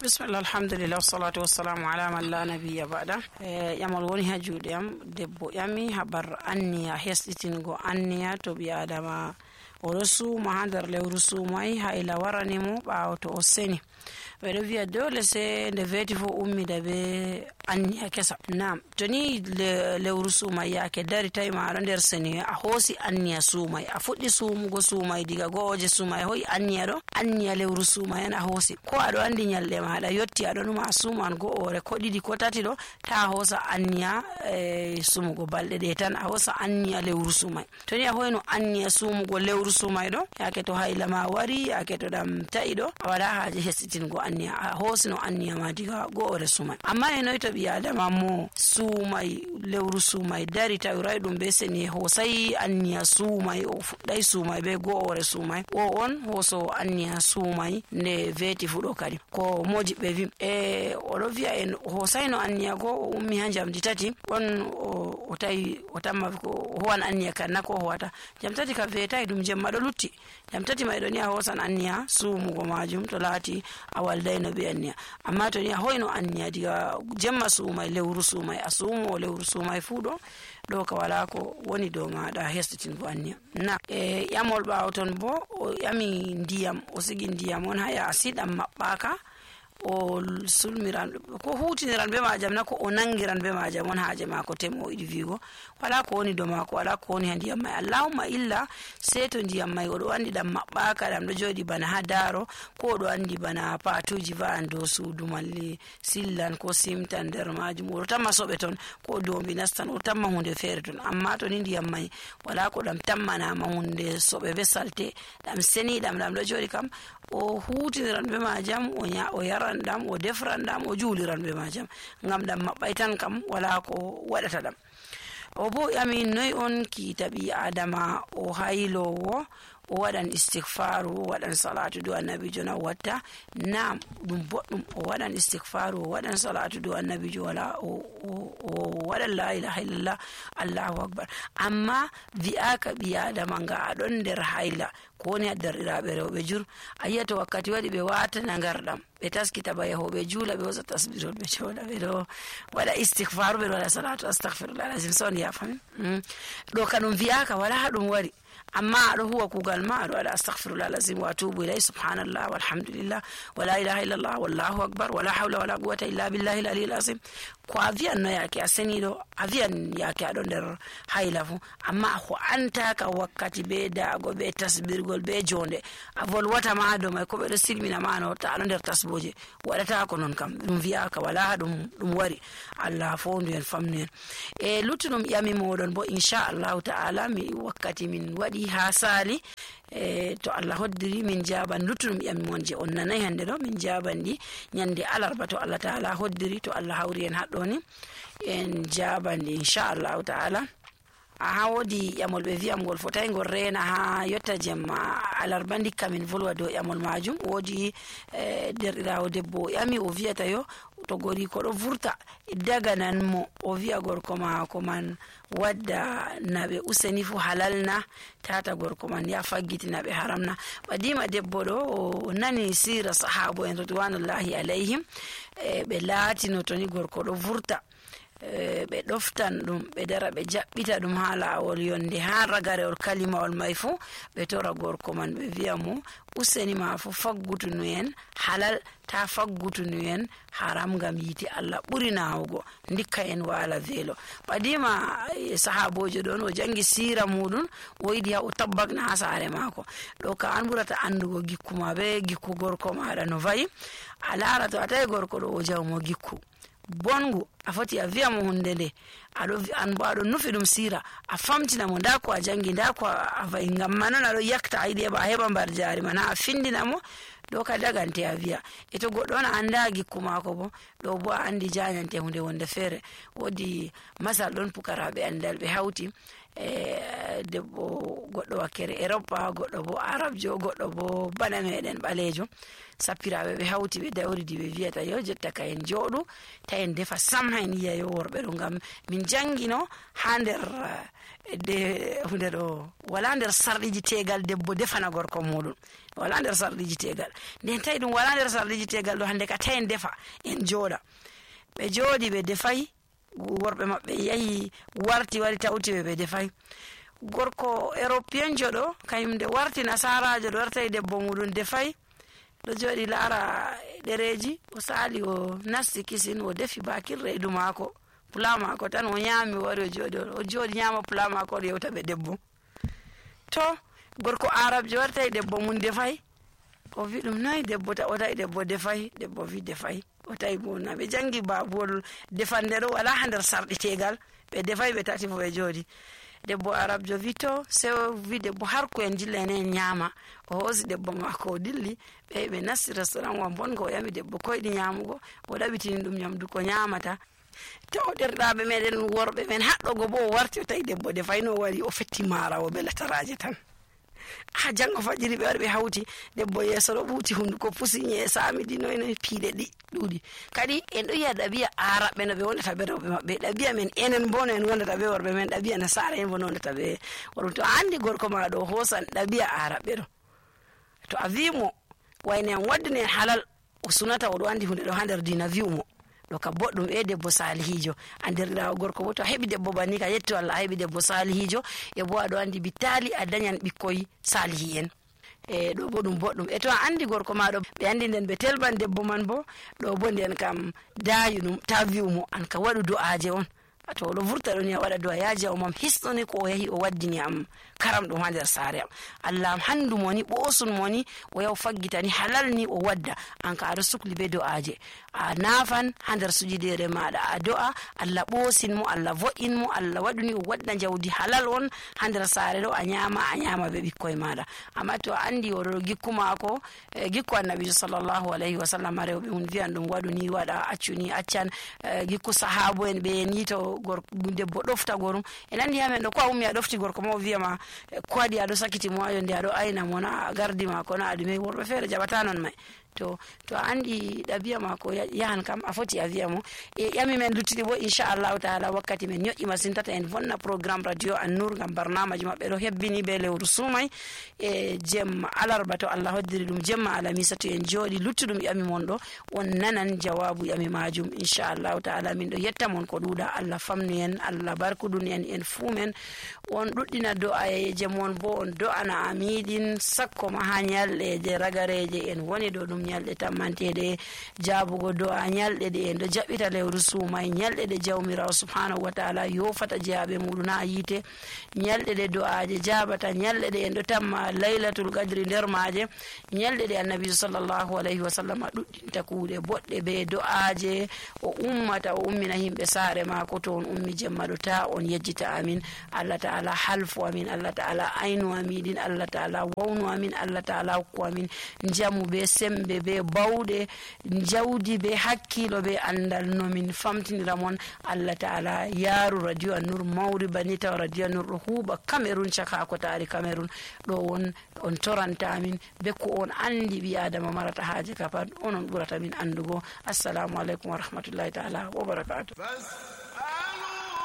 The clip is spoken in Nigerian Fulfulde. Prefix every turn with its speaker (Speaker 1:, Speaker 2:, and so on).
Speaker 1: Bismillah, alhamdulillah, wassalatu wassalamu ala man la nabiyya ba'da. Yamal woni ha juuɗe am, debbo ƴami habar anniya, hesɗitingo anniya to ɓi adama oɗo suuma ha nder lewru suumai hayla warani mo ɓawo to o seni. Ɓeɗo wiya dole se nde veti fo ummida be anniya kesa. Nam to ni lewru suumai yake dari tawi ma aɗo nder seni a hoosi anniya suumai, a fuɗɗi suumugo suumai diga go'oje suumai a hoyi anniya ɗo, anniya lewru suumai a hoosi, ko aɗo andi nyalɗe maɗa yotti aɗo numa a suuman go'ore ko ɗiɗi ko tati ɗo, ta a hoosa anniya sumugo balɗe ɗe tan, a hoosa anniya lewru suumai. To ni a hoyno anniya sumugo lewru suumai ɗo, yake to hayla ma wari, yake to ɗam ta'i ɗo, a wala haaje hesitingo anniya, a hoosino anniya ma diga go'ore suumai. Amma e noy to ɓi adama mo suumai lewru suumai dari tawirai ɗum be seni hoosai anniya suumai, o fuɗɗai suumai be go'ore suumai, o on hooso anniya suumai nde veti fuɗo kadi ko mojiɓɓe vi oɗo wiya en hoosaino anniya go o ummi ha jamdi tati on o tawi o tamma ko howan anniya kan na ko howata jam tati ka vetai ɗum jemma ɗo lutti jam tati mai ɗo ni a hoosan anniya suumugo majum to laati a waldaino be anniya. Amma to ni a hoyno anniya diga jemma suumai lewru suumai a suumo lewru suumai fu ɗo ka wala ko woni dow maɗa hestitingo anniya. Na ƴamol ɓawo ton bo o ƴami ndiyam, o sigi ndiyam on ha yaasi ɗam maɓɓaka, o sulmiran ko hutiniran be majam na ko o nangiran be majam on haaje mako temo iɗi vigo wala ko woni do mako, wala ko woni ha ndiyam mai, allahumma illa sei to ndiyam mai oɗo andi ɗam maɓɓaka ɗam ɗo joɗi bana ha daro, ko oɗo andi bana patuji va'an dow suudu malli sillan ko simtan nder majum, oɗo tamma soɓe ton ko dombi nastan, oɗo tamma hunde feere ton. Amma to ni ndiyam mai wala ko ɗam tammanama hunde soɓe be salte, ɗam seni ɗam ɗo joɗi kam o hutiniran be majam, o yaran ɗam, o defran ɗam, o juuliran be majam, ngam ɗam maɓɓai tan kam wala ko waɗata ɗam. O bo ƴami noy on kiita ɓi adama o haylowo o waɗan istighfaru, o waɗan salatu do annabijo na watta. Nam ɗum boɗɗum o waɗan istighfaru, o waɗan salatu do annabijo, wala o waɗan la ilaha illallah allahu akbar. Amma wi'aka ɓi adama nga aɗon nder hayla ko woni ha derɗiraɓe rewɓe jur, a yiya to wakkati waɗi ɓe watana ngarɗam ɓe taskita ba yahoɓe juula ɓe hosa tasbirol ɓe joɗa ɓe ɗo waɗa istighfaru, ɓe ɗo waɗa salatu astaghfirullah alazim. So on yafami ɗo ka ɗum wi'aka wala ha ɗum wari, amma aɗo huwa kugal ma aɗo waɗa astaghfirullah alazim wa atubu ilay, subhanallah walhamdulillah wala ilaha illallah wallahu akbar wala hawla wala quwwata illa billahi al aliyyil azim. Ko a wiyan no yake a seniɗo, a wiyan yake aɗo nder hayla fu, amma a ho'antaka wakkati be daago be tasbirgol be jonde a volwata ma do mai ko ɓeɗo silmina ma no ta aɗo nder tasboje, waɗata ko non kam ɗum wiyaka wala ɗum wari. Allah fondu en famnu en. E luttuɗum ƴami moɗon bo inchallahu ta'ala mi wakkati min waɗi ha sali, to Allah hoddiri min jaban luttuɗum ƴami mon je on nanai hande ɗo min jaban ɗi nyande alarba to Allah ta'ala hoddiri, to Allah hawri en haɗɗoni en jaban ɗi inchallahu ta'ala. Ha wodi ƴamol ɓe wiyam ngol fotai ngol rena ha yotta jemma alarba ndikka min volwa dow ƴamol majum. Wodi derɗirawo debbo ƴami o wiyata yo to gori ko ɗo vurta daganan mo o wiya gorko mako man wadda naɓe useni fu halalna, tata gorko man ya faggitina ɓe haramna. Ɓadima debbo ɗo o nani sira sahabo en ridwanullahi alayhim, ɓe laatino to ni gorko ɗo vurta ɓe ɗoftan ɗum ɓe dara ɓe jaɓɓita ɗum ha lawol yonde ha ragarewol kalimawol mai fu ɓe tora gorko man ɓe wiya mo useni ma fu faggutunu en halal, ta faggutunu en haram, ngam yiti Allah ɓuri nawugo, ndikka en wala velo. ɓadima sahabojo ɗon o jangi sira muɗum o yiɗi ha o tabbakna ha sare mako ɗo ka an ɓurata andugo gikku ma be gikku gorko maɗa no vayi. A lara to a tawi gorko ɗo o jawmo gikku bongu, a foti a wiya mo hunde nde an bo aɗo nufi ɗum sira, a famtina mo nda ko a jangi nda ko a vayi, ngam manon aɗo yakta a yiɗi a heɓa mbar jari man, ha a findina mo ɗo ka dagante a wiya. E to goɗɗo on a anda gikku mako bo ɗo bo a andi jañante hunde wonde feere. Wodi masal ɗon pukaraɓe andal ɓe hawti debbo goɗɗo wakkere Europe, goɗɗo bo Arabjo, goɗɗo bo bana meɗen ɓalejo, sappiraɓe ɓe hawti ɓe dawridi ɓe wiyata yo jotta ka en jooɗu ta en defa sam ha en yiya yo worɓe ɗo, ngam min jangino ha nder hunde ɗo wala nder sarɗiji tegal debbo defana gorko muɗum, wala nder sarɗiji tegal. nden tawi ɗum wala nder sarɗiji tegal ɗo hande ka tawi defa en jooɗa. ɓe jooɗi ɓe defay, worɓe maɓɓe yahi warti wari tawti ɓe defay. gorko européen jo ɗo kañum nde warti nasarajo ɗo wartayi debbo muɗum defay, ɗo jooɗi laara ɗereji, o sali o nasti kisin o defi bakir reedu maako, pula maako tan o ñaami, o wari o jooɗi ñaama pula maako o yewta ɓe debbo. To gorko arabjo wartayi debbo mum defay, o wi ɗum noy debbo o tawi debbo defay, debbo wi defay, o tawi bo na ɓe jangi babuwol defande ɗo wala ha nder sarɗi tegal, ɓe defay ɓe tati fo ɓe jooɗi. debbo arabjo wi to sewo wi debbo har ko en dilla enen ñaama, o hoosi debbo maako o dilli, ɓe nasti restaurant wa bongo, o yami debbo koyɗi ñaamugo, o ɗaɓitini ɗum ñamdu ko ñaamata. to derɗaɓe meɗen worɓe men haɗɗogo bo o warti o tawi debbo defayno, o wari o fetti maara o belataraje tan. ha jango fajiri ɓe wari ɓe hawti, debbo yeeso ɗo ɓuuti, hunduko pusi, ñee saamidi noy piiɗe ɗuuɗi. kadi en ɗo yiya ɗabi'a araɓɓe no ɓe wondata ɓe rewɓe maɓɓe, ɗabi'a men enen bo no en wondata ɓe worɓe men, ɗabi'a nasara en bo no wondata ɓe worɓe. to a andi gorko ma ɗo hoosan ɗabi'a araɓɓe ɗo, to a wimo wayne en waddini en halal, o sunata oɗo andi hunde ɗo ha nder dina, wi'umo ɗo ka boɗɗum, debbo salihijo. andirɗa gorko bo to a heɓi debbo banni ka yetto Allah, a heɓi debbo salihijo, e bo aɗo andi bittali a dañan ɓikkoy salihi en, ɗo bo ɗum boɗɗum. to a andi gorko ma ɗo ɓe andi nden ɓe telban debbo man bo, ɗo bo nden kam dayu ɗum, ta wi'umo an ka waɗu du'aje on, to oɗo vurta ɗon ya waɗa du'a, yaji o mam hisnoni ko o yahi o waddini am karam ɗum ha nder saare am, Allah am handu moni, ɓosun moni, o yaw faggitani halal ni o wadda, an ka aɗo sukli be du'aje, a nafan ha nder sujudere maɗa, a do'a Allah ɓosin mo, Allah vo'in mo, Allah waɗuni o wadda jawdi halal on ha nder saare ɗo, a ñama be ɓikkoye maɗa. amma to a andi oɗo gikku mako, gikku annabijo sallllahu alayhi wa sallam, rewɓe mum wiyan ɗum waɗu ni waɗa, accu ni accan, gikku sahabo en ɓe ni to debbo ɗofta gorum, en andi hamen ɗo ko a ummi a ɗofti gorko ma o wiyama ko waɗi aɗo sakiti mo ayo nde aɗo ayna mo, na gardi ma ko na aɗume, worɓe feere jaɓata non may. to a andi ɗabi'a mako yahan kam a foti a wiya mo. ƴami men luttiɗi bo inchallahu taala wakkati men ñoƴƴi masin, tata en bonna programme radio An-Nur ngam barnamaji maɓɓe ɗo hebbini be lewru sumay e jemma alarba, to Allah hoddiri ɗum jemma alamisa, to en jooɗi luttuɗum ƴami mon ɗo on nanan jawabu ƴami majum inchallahu taala. min ɗo yetta mon ko ɗuuɗa, Allah famnu en, Allah barkudun en fuu men, on ɗuɗɗina do'ayeje mon bo on do'ana amiɗin sakko ma ha ñalɗeje ragareje en woni ɗo ɗum ñalɗe tammanteɗe jabugo do'a, ñalɗe ɗe en ɗo jaɓɓita lewru sumay, ñalɗe ɗe jawmirawo subhanahu wa taala yofata jeyaɓe muɗum ha yiite, ñalɗe ɗe do'aje jabata, ñalɗe ɗe en ɗo tamma laylatul qadri nder maje, ñalɗe ɗe annabijo sallllahu alayhi wa sallam ɗuɗɗinta kuuɗe boɗɗe be do'aje, o ummata o ummina himɓe saare mako, to on ummi jemma ɗo ta on yejjita amin. Allah taala halfu amin, Allah taala aynu amiɗin, Allah taala wawnu amin, Allah taala hokku amin jamu be sembe be bawɗe, jawdi be hakkilo be andal nomin famtinira mon. Allah taala yaaru radio An-Nur mawri bani, taw radio An-Nur ɗo huuɓa Cameroun, caka ko taari Cameroun ɗo on toranta amin be ko on andi ɓi adama marata haaje ka pat, onon ɓurata min andugo. assalamu aleykum wa rahmatullahi taala wa barakatuh.